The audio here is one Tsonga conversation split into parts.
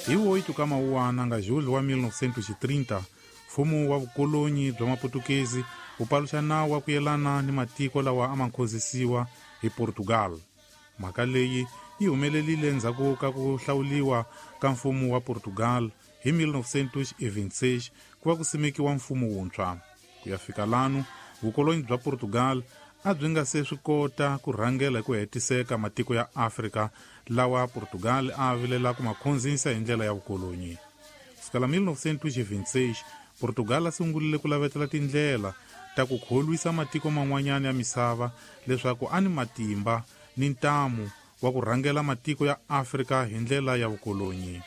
Hi 8 ka Mawuwana nga julho wa 1930, mfumo wa vukolonyi bya Maputukezi wu paluxa nawu wa ku yelana ni matiko lawa a ma nkhozisiwa hi Portugal. Mhaka leyi yi humelerile endzhaku ka ku hlawuliwa ka mfumo wa Portugal hi 1926 ku va ku simekiwa mfumo wuntshwa. Ku ya fika lanu, vukolonyi bya Portugal a byi nga se swi kota ku rhangela hi ku hetiseka matiko ya Afrika lawa Portugal a vilela ku ma khonzisa hi ndlela ya vukolonyi. Kusukela 1926, Portugal a sungurile ku lavetela tindlela ta ku kholwisa matiko man'wanyana ya misava leswaku a ni matimba ni ntamu wa ku rhangela matiko ya Afrika hi ndlela ya vukolonyi.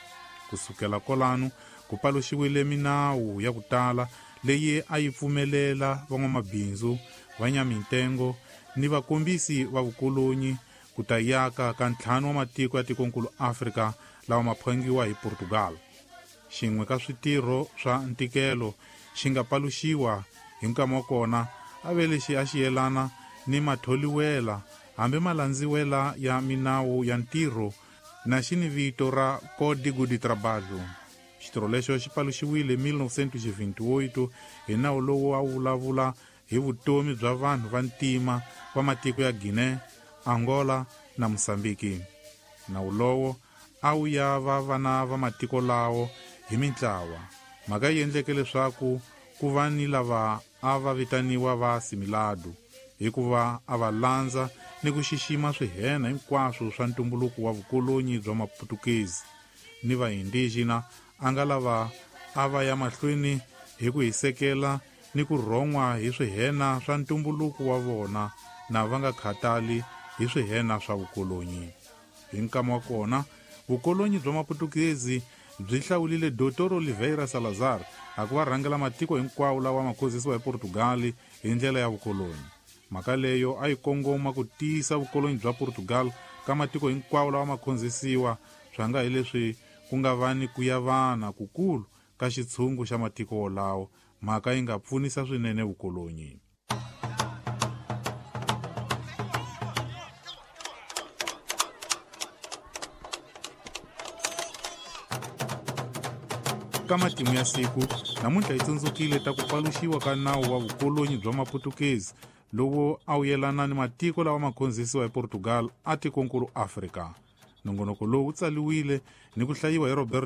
Kusukela kolano ku paluxiwile minawu ya ku tala leyi a yi pfumelela van'wamabindzu, vanyamintengo ni vakombisi va vukolonyi ku ta yaka ka ntlhanu wa matiko ya tikonkulu Afrika lawa ma phangiwa hi Portugal. Xin'we ka switirho swa ntikelo xi nga paluxiwa hi nkama wa kona a ve lexi a xi yelana ni matholiwela hambi malandziwela ya minawu ya ntirho na xi ni vito ra Código de Trabalho. Xitirho lexo xi paluxiwile 1928 hi nawu lowu a wu vulavula hi vutomi bya vanhu va ntima va matiko ya Guinea, Angola na Mozambiki. Nawu lowo a wu ya va vana va matiko lawo hi mintlawa. Mhaka yi endleke leswaku ku va ni lava a va vitaniwa va Assimilado hikuva a va landza ni ku xixima swihena hinkwaswo swa ntumbuluko wa vukolonyi bya Maputukezi ni vaindigena a nga lava a va ya mahlweni hi ku hisekela ni ku rhon'wa hi swihena swa ntumbuluko wa vona na va nga khatali hi swihena swa vukolonyi. Hi nkama wa kona, vukolonyi bya Maputukezi byi hlawulile Dr. Oliveira Salazar a ku va rhangela matiko hinkwawo lawa ma khozisiwa hi Portugal hi ndlela ya vukolonyi. Mhaka leyo a yi kongoma ku tiyisa vukolonyi bya Portugal ka matiko hinkwawo lawa ma khonzisiwa, swa nga hi leswi ku nga va ni ku yavana kukulu ka xitshungu xa matiko wolawo, mhaka yi nga pfunisa swinene vukolonyi. Ka matimu ya siku namuntlha hi tsundzukile ta ku paluxiwa ka nawu wa vukolonyi bya Maputukezi lowu a wu yelana ni matiko lawa ma khonzisiwa hi Portugal a tikonkulu Afrika. Nongonoko lowu wu tsaliwile ni ku hlayiwa hi Roberto.